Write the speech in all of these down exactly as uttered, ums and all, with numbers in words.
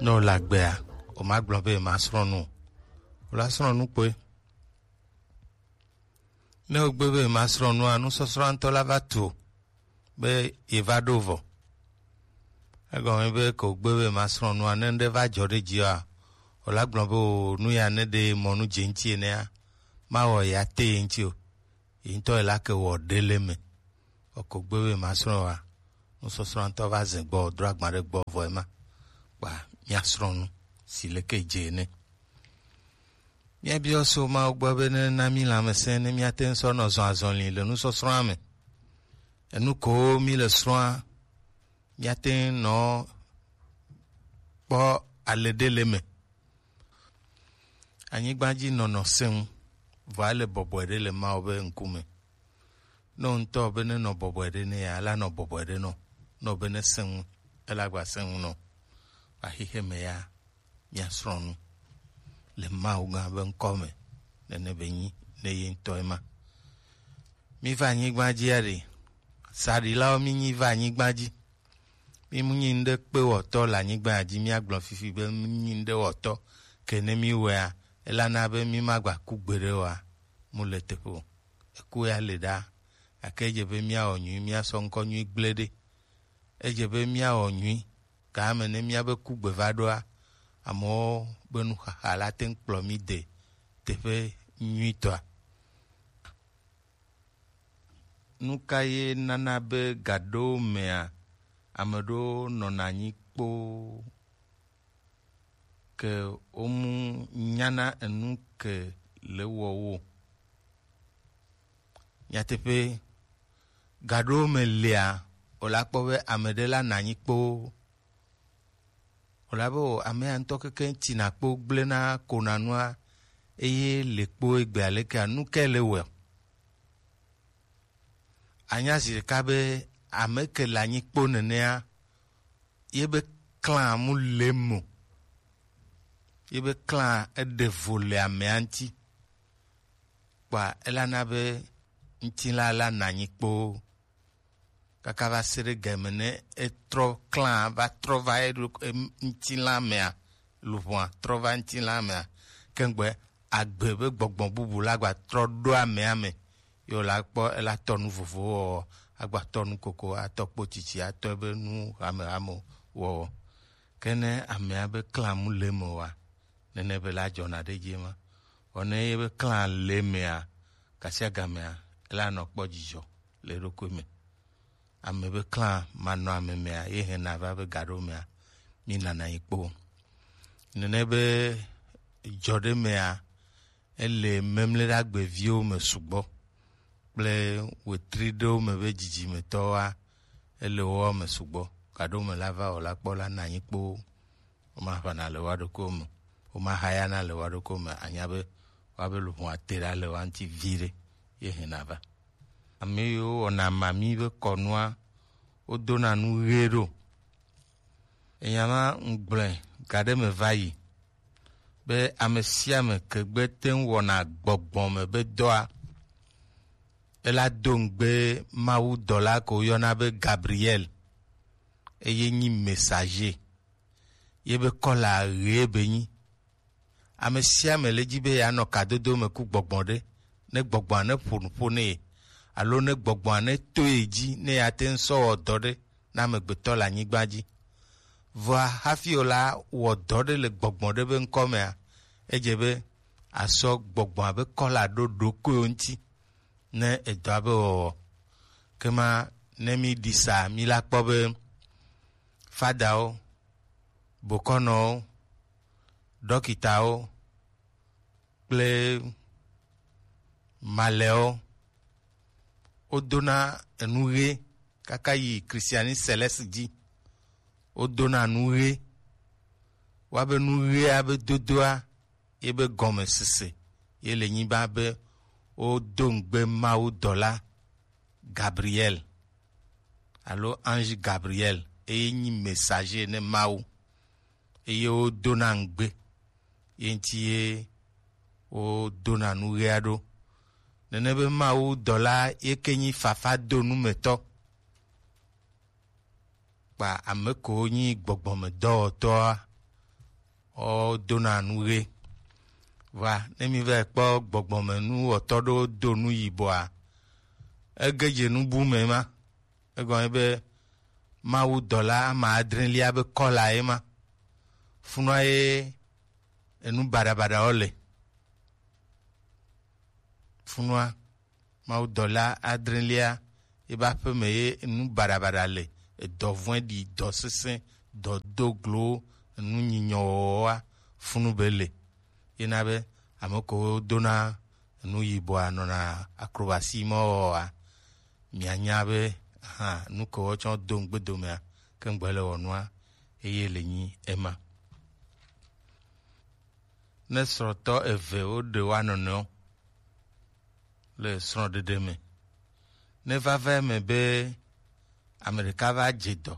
Ne wòle agbea, wòmagblɔ be yemasrɔ̃ nu o. Wòla srɔ̃ nu kpoe. Ne wògbe be yemasrɔ̃ nua, nusɔsrɔ̃ ŋutɔ la va tu o, be yeva ɖo vɔ. Egɔme be ke wògbe be yemasrɔ̃ nua, ne ŋɖe va dzɔ ɖe dziwòa, wòla gblɔ be o, nu ya ne ɖe mɔ nu dze ŋuti enea, mawɔ ya te ye ŋuti o. Yi ŋutɔ yi la ke wɔ ɖe le me. Eko gbe be masrɔ̃ wa. Nusɔsrɔ̃ ŋutɔ va zɛ gbɔ, dro agba ɖe gbɔ vɔ ema. Kpa miasrɔ̃ nu si leke dze ene. Míabiɔ so Mawu gbɔ be ne na mí lãmesẽ ne míate ŋu sɔ nɔ zɔn azɔli le nusɔsrɔ̃a me. Enu ko mí le srɔ̃a, míate ŋu nɔ kpɔ ale ɖe le me. Anyigba dzi nɔnɔ sẽ ŋu, vɔ ele bɔbɔe ɖe le Mawu be ŋkume. Ne wo ŋutɔ be ne nɔ bɔbɔe ɖe ne ya, ela nɔ bɔbɔe ɖe nɔ. Ne wo be ne sẽ ŋu, ela gba sẽ ŋu nɔ. Axixe me ya, míasrɔ̃ nu le Mawu gã be ŋkɔ me, nene be nyi ne ye ŋutɔ ema. Mí va anyigba dzi aɖe, saɖilawo mí nyi va anyigba dzi. Mí mu nyi ŋɖe kpe wɔtɔ le anyigba dzi, míagblɔ fifi be mí nyi ŋɖe wɔtɔ, ke ne mí wɔea, elana be mí magba ku gbeɖe oa, mu le teƒe o. Eku ya le ɖa, gake edze be míawɔ nyui, míasɔ ŋkɔ nyui gblẽ ɖe. Edze be míawɔ nyui, game ne míabe kugbe va ɖoa, amewo be nuxaxa la te ŋu kplɔ mí de teƒe nyuitɔa. Nu ka ye nana be gaɖewo mea, ame ɖewo nɔna anyi kpoo ke womu nyana enu ke le wɔ wo? Nyateƒe, gaɖewo me lia, wòla kpɔ be ame ɖe la nɔ anyi kpoo. Wòla be o, amea ŋutɔ keke ŋuti na kpo gblẽna ko na nua, eye le kpo egbe alekea, nu ke le wɔe? Anya zi ɖeka be ame ke le anyi kpo nenea, ye be klã mu le mo, ye be klã eɖe vo le amea ŋuti, kpa elana be ŋutilã la nɔ anyi kpoo kaka va se ɖe game ne etrɔ klã va trɔ va eɖo-, em-, ŋutilã mea, luʋɔa trɔ va ŋutilã mea, kengbe agbe be gbɔgbɔ bubu la gba trɔ ɖo amea me. Ye wòla kpɔ ela tɔ nu vovowo wɔwɔ, agba tɔ nu koko, atɔ kpo tsitsi, atɔ ebe nu hamehame wɔwɔ. Ke ne amea be klã mu le me oa, nene be la dzɔna ɖe edzi ema. Vɔ ne ye be klã le mea, gasiagamea, ela nɔ kpɔ dzidzɔ le eɖokui me. Ame be klã manɔ ame mea, ye hɛna va be gaɖo mea, mi nana yi kpo. Nene be dzɔ ɖe mea, ele Memleɖagbe viwo me sugbɔ kple wetri ɖewo me be dzidzimetɔwoa, ele woawo me sugbɔ. Gaɖo me la va o la kpɔ la nɔ anyi kpoo. Womaʋãna le woa ɖokuiwo me. Womaxayana le woa ɖokuiwo me. Anya be woabe luʋɔ ate ɖa le woa ŋuti viɖe ye hɛna va. Ame yiwo wɔna mami be kɔnua, wodona nu ɣe ɖo. Enya ma ŋgblɔe gaɖe me va yi be ame sia ame ke gbe te ŋu wɔna gbɔgbɔ me be dɔa, ela do ŋugbe Mawu dɔla ko woyɔna be Gabriel, eye nyi messager. Ye be kɔla ɣee be nyi. Ame sia ame le dzi be yeanɔ kadodo me ku gbɔgbɔ ɖe, ne gbɔgbɔa ne ƒo nu ƒo nɛ, alo ne gbɔgbɔa ne to ye dzi, ne yeate ŋu sɔ wɔ dɔ ɖe na amegbetɔ le anyigba dzi. Vɔa hafi wòla wɔ dɔ ɖe le gbɔgbɔ ɖe be ŋkɔ mea, edze be asɔ gbɔgbɔa be kɔla ɖo ɖokuiwo ŋuti ne edɔa be wɔwɔ. Kema ne mi ɖi sa, mi la kpɔ be fadawo, bokɔnɔwo, ɖɔkitawo kple malɛwo, wodona enu ɣe kaka yi Christianisme céleste dzi. Wodona nu ɣe. Woabe nu ɣea be dodoa, ye be gɔmesese ye le nyiba be wodo ŋugbe Mawu dɔla Gabriel alo ange Gabriel, eye nyi messager ne Mawu, eye wodona ŋugbe ye ŋuti ye wodona nu ɣea ɖo. Nene be Mawu dɔla ye ke nyi fafa do nu me tɔ. Kpa ame kewo nyi gbɔgbɔmedɔwɔtɔa, Wodona nu ɣe. Vɔa, ne mi va kpɔ gbɔgbɔme nu wɔtɔ ɖewo do nu yibɔa, ege dze nu bu me ma. Egɔme be Mawu dɔla ame adrelia be kɔla ye ma. Funua ye enu baɖabaɖawo le. Funua, Mawu dɔla adrelia, ebe aƒeme ye enu baɖabaɖa le, edɔ vɔ̃ɖi, dɔ sesẽ, dɔ do glo, enu nyinyɔ wɔwɔa, funu be le. Yena be ame kewo dona enu yibɔa nɔna acrobatie ma wɔwɔa, mianya be, hã, nu kewo tsɔ do ŋugbedomea, ke ŋgbe le wɔ nua, eye le nyi ema. Ne srɔ̃tɔ eve woɖe woa nɔnɔewo le srɔ̃ɖeɖe me, ne vava eme be ame ɖeka va dze dɔ,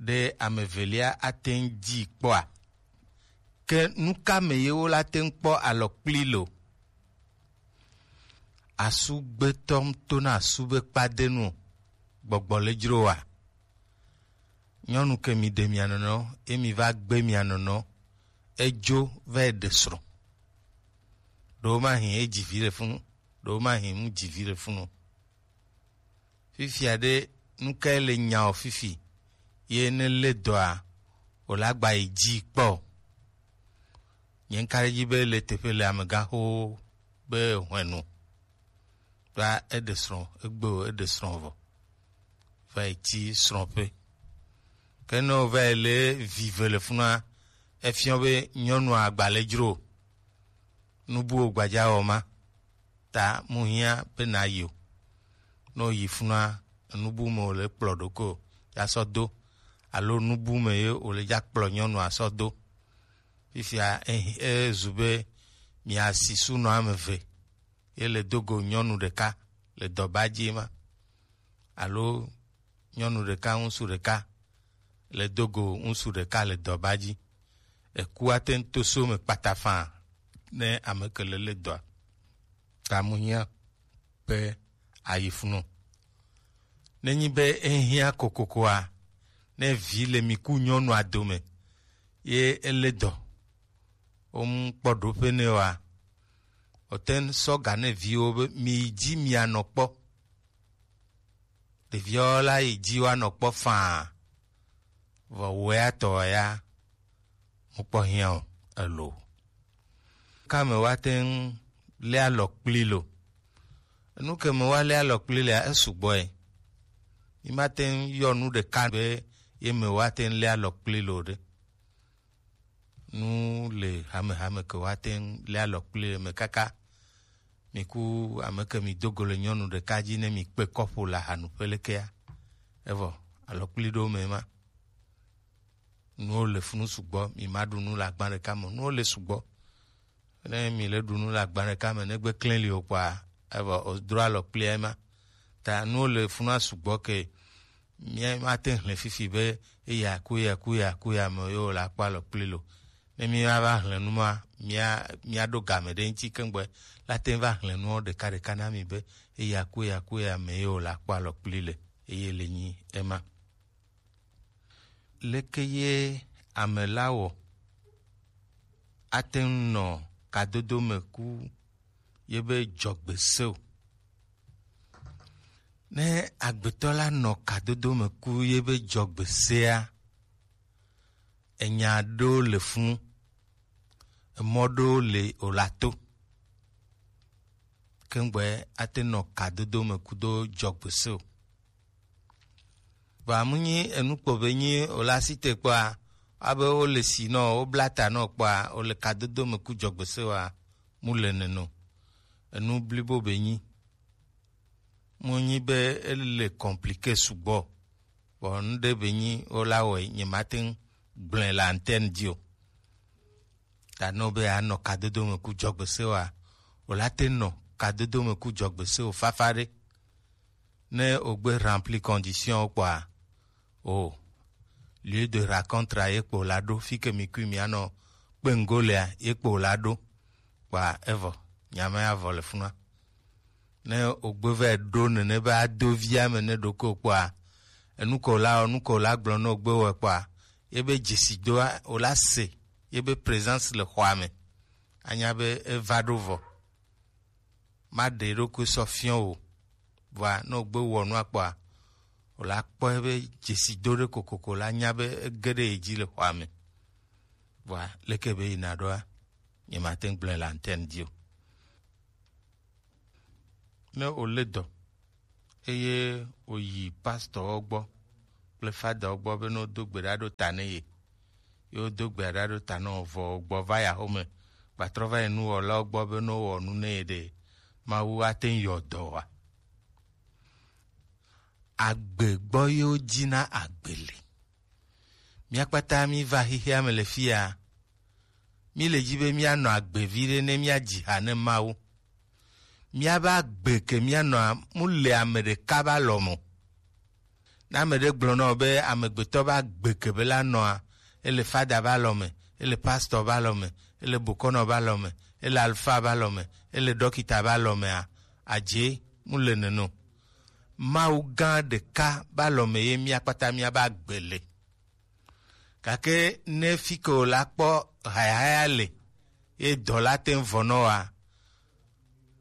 ɖe ame evelia ate ŋu dzi kpɔa? Ke nu ka me ye wola te ŋu kpɔ alɔkpli lo? Asu gbetɔ ŋu tona asu be kpadenu o, gbɔgbɔ le dzro wa? Nyɔnu ke mi ɖe mia nɔnɔ, ye mi va gbe mia nɔnɔ, edzo va yi ɖe srɔ̃. Ɖewo ma hin edzi vi ɖe funu, ɖewo ma hin mu dzi vi ɖe funu. Fifia ɖe, nu kae le nya o fifi? Ye ne le dɔa, o la gba yi dzi kpɔ. Nye ŋka ɖe dzi be le teƒe le amegãxowo be hwenu. Kpa eɖe srɔ̃, egbe o, eɖe srɔ̃ vɔ. Va yi tsi srɔ̃ƒe. Ke ne wova yi lé vi ve le funua, efiɔ be nyɔnua agba le dzro o. Nu buwo gbadza wɔ ma. Ta mu hiã be na yi o. Ne wo yi funua, enu bu me wòle kplɔ ɖokui o, ya sɔ do. Alo nu bu me ye wòle dza kplɔ nyɔnua sɔ do. Fifia, e, ezu be mia si sunɔ ame ve. Ye le do go nyɔnu ɖeka le dɔba dzi ma, alo nyɔnu ɖeka, ŋutsu ɖeka le do go ŋutsu ɖeka le dɔba dzi. Eku ate ŋu to so me kpata faa ne ame ke le le dɔa. Ta mu hiã be ayi funu. Nenyi be ehiã kokokoa, ne vi le mi ku nyɔnua dome, ye ele dɔ, wo mu kpɔ ɖoƒe nɛ oa, wote ŋu sɔ ga ne viwo be mi yi dzi mia nɔ kpɔ. Ɖeviawo la yi dzi woanɔ kpɔ faa, vɔ wea tɔ ya mu kpɔ hiã o, elo. Ka me woate ŋu lé alɔ kpli lo? Enu ke me woalé alɔ kpli lea, esugbɔ ye. Mi mate ŋu yɔ nu ɖeka be ye me woate ŋu lé alɔ kpli lo ɖe. Nu le hamehame ke woate ŋu lé alɔ kpli le me kaka. Mi ku ame ke mi do go le nyɔnu ɖeka dzi ne mi kpe kɔƒo le ahanuƒe lekea. Evɔ alɔ kpli ɖo me ma. Nuwo le funu sugbɔ, mi ma ɖu nu le agba ɖeka me. Nuwo le sugbɔ. Ne mi le ɖu nu le agba ɖeka me, ne gbe klẽ li o kpɔa, evɔ o dro alɔ kpli ema. Ta nuwo le funua sugbɔ ke mía mate ŋu hlẽ fifi be eya ku ya ku ya ku ya me ye wòle akpɔ alɔ kpli lo. Ne míava hlẽ nu ma, mía, míaɖo game ɖe eŋuti keŋ be la te ŋu va hlẽ nuwo ɖekaɖeka na mi be eya ku ya ku ya me ye wòle akpɔ alɔ kpli le, eye le nyi ema. Leke ye ame la wɔ ate ŋu nɔ kadodo me ku ye be dzɔgbe se o? Ne agbetɔ la nɔ kadodo me ku ye be dzɔgbe sea, enya ɖewo le funu, emɔ ɖewo le wòla to. Keŋgbɛ ate nɔ kadodo me kudo dzɔgbe se o. Vɔa mu nyi enu kpo be nyi wòle asi te kpɔa, abe wole si nɔ, wobla ta nɔ kpɔa, wòle kadodo me ku dzɔgbe se wa, mu le nene o. Enu blibo be nyi. Mu nyi be ele compliqué sugbɔ. Vɔ nu ɖe be nyi wola wɔe, nye mate ŋu gblɔe le antenne dzi o. Ta ne wobe yeanɔ kadodo me ku dzɔgbe se oa, wòla te nɔ kadodo me ku dzɔgbe se o fafa ɖe. Ne wogbe rempli condition kpɔa, o lieu de rencontre ye kpo la ɖo, fi ke mi kui mianɔ kpe ŋgo lea, ye kpo la ɖo. Kpɔa evɔ, nya ma ya vɔ le funua. Ne wogbe vɛ ɖo nene be ado via me ne ɖoko kpɔa, enu ko la, enu ko la gblɔ ne wogbe wɔ kpɔa, ye be dzesi doa, wòla se ebe présence le xɔa me, anya be eva ɖo vɔ. Maɖe eɖokui sɔ fiɔ o. Vɔa ne wògbe wɔ nua kpɔa, wòla kpɔ ebe dzesi do ɖe kokoko la nya be ege ɖe ye dzi le xɔa me. Vɔa leke be yina ɖoa, nyemate ŋu gblɔe le antenne dzi o. Ne wòlé dɔ eye wòyi pastorwo gbɔ kple fadawo gbɔ be ne wodo gbe ɖa ɖo ta ne ye, ye wodo gbe ɖa ɖo ta ne wòvɔ wògbɔ va yi axome, gbatrɔ va yi nuwɔlawo gbɔ be ne wowɔ nu ne ye ɖe, Mawu ate ŋu yɔ dɔ oa? Agbe gbɔ ye wodzina agbe le. Mía kpata míva xexea me le fia. Míle dzi be míanɔ agbe viɖe ne míadzi ha ne Mawu. Míabe agbe ke míanɔa, mu le ame ɖeka be alɔ me o. Ne ame ɖe gblɔ na wò be amegbetɔ be agbe ke be la nɔa, ele fada be alɔ me, ele pastor be alɔ me, ele bokɔnɔ be alɔ me, ele alfa be alɔ me, ele ɖɔkita be alɔ mea, adze, mu le nene o. Mawu gã ɖeka be alɔ me ye mía kpata míabe agbe le. Gake ne fi ke wòla kpɔ hayahaya le, ye dɔ la te ŋu vɔ nɔ wa,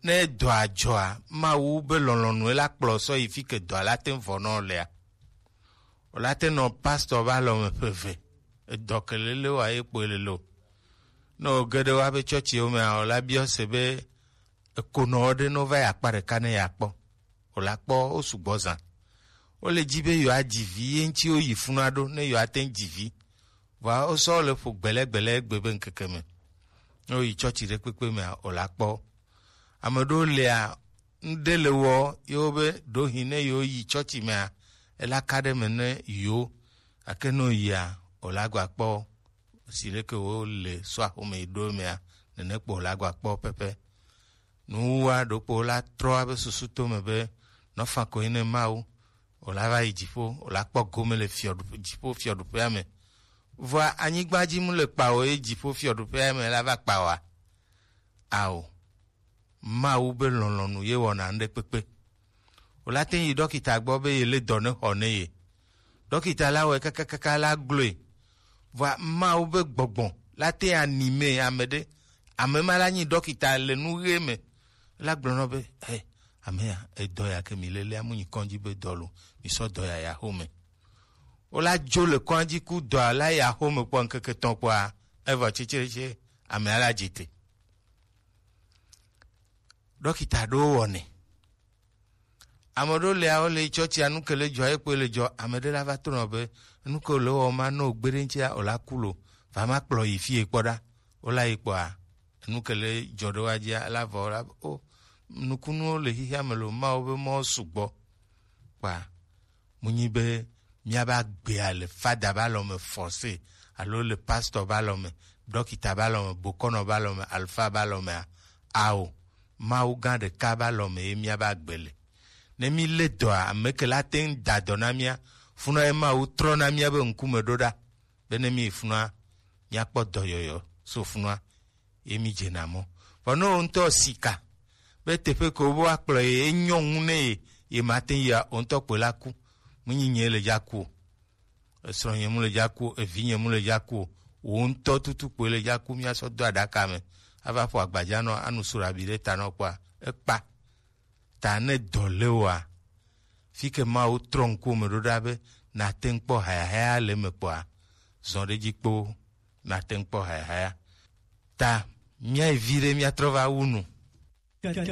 ne dɔa dzɔa, Mawu be lɔlɔ̃nu ye la kplɔ sɔ yi fi ke dɔa la te ŋu vɔ nɔ lea. Wòla te nɔ pastor be alɔ me ƒe eve, edɔ ke lele wa ye kpɔe lele o. Ne wòge ɖe woabe tsɔtsiwo mea, wòla biɔ se be ekonɔ ɖe ne wova yi akpa ɖeka ne yeakpɔ. Wòla kpɔ wo sugbɔ zã. Wole dzi be yewoadzi vi ye ŋuti woyi funua ɖo ne yewoate ŋu dzi vi. Vɔa wosɔ le ƒo gbɛlɛgbɛlɛ egbe be ŋkeke me. Ne woyi tsɔtsi ɖe kpekpe mea, wòla kpɔ wo. Ame ɖewo lia, ŋɖe le wɔ yewo be ɖohi ne yewoyi tsɔtsi mea, ela ka ɖe me ne yewo. Gake ne woyia, wòla gba kpɔ wo. Si leke wole sɔa xome yi ɖo emea, nene kpo wòla gba kpɔ pɛpɛ. Nuwuwua ɖokpo la trɔ abe susu to me be nɔfa koe ne Mawu, wòla va yi dziƒo, wòla kpɔ gome le fiɔɖuƒe, dziƒo fiɔɖuƒea me. Vɔa anyigba dzi mu le kpa o, ye dziƒo fiɔɖuƒea me la va kpa oa? Ao, Mawu be lɔlɔ̃nu ye wɔna ŋɖe kpekpe. Wòla te yi ɖɔkita gbɔ be ye le dɔ ne xɔ ne ye. Ɖɔkita la wɔe kakakaka la gblɔe. Vɔa Mawu be gbɔgbɔ la te anime ame ɖe. Ame ma la nyi ɖɔkita le nu ɣe me. La gblɔ nɔ be, "Hey, ame ya, edɔ ya ke mi lelea mu nyi kɔndzi be dɔ lo, mi sɔ dɔ ya ya xome." Wola dzo le kɔndzi ku dɔa la ya xome kpɔ ŋkeke tɔn kpɔa, evɔ tsetsetse, amea la dzi te. Ɖɔkita ɖewo wɔnɛ. Ame ɖewo le awo le tsɔtsia nu ke le dzɔ ye kpɔe le dzɔ. Ame ɖe la va trɔ nɔ be nu ke le wɔ ma no gbe ɖe ŋutia o la ku lo, va ma kplɔ yi fie kpɔ ɖa. Wo la yi kpɔa, nu ke le dzɔ ɖe wa dzia la vɔ la o, nukunuwo le xixia me lo, Mawu be mɔ sugbɔ. Kpa munyi be míabe agbea le fada be alɔ me forcé, alo le pastor be alɔ me, ɖɔkita be alɔ me, bokɔnɔ be alɔ me, alfa be alɔ mea? Ao, Mawu gã ɖeka be alɔ me ye míabe agbe le. Ne mílé dɔa, ame ke la te ŋu da dɔ na mía, funɔ ye Mawu trɔ na míabe ŋkume ɖo ɖa, be ne míyi funɔa, míakpɔ dɔyɔyɔ so funɔa, ye mi dzena mɔ. Vɔ ne wò ŋutɔ sika be teƒe ke wobe woakplɔ ye, enyɔ ŋu ne ye, ye mate ŋu yia, wò ŋutɔ kpoe la ku. Menyi nye le dza ku o. Esrɔ̃nye mu le dza ku o, evinye mu le dza ku o. Wò ŋutɔ tutu kpoe le dza ku, míasɔ do aɖaka me. Ava ƒo agbadza nɔ, anu surabi ɖe ta nɔ kpɔa, ekpa. Ta ne dɔ le wòa, fi ke Mawu trɔ ŋkuwò me ɖo ɖa be nàte ŋu kpɔ hayahaya le eme kpɔa, zɔ ɖe edzi kpoo, nàte ŋu kpɔ hayahaya. Ta míayi vi ɖe míatrɔ va wu nu.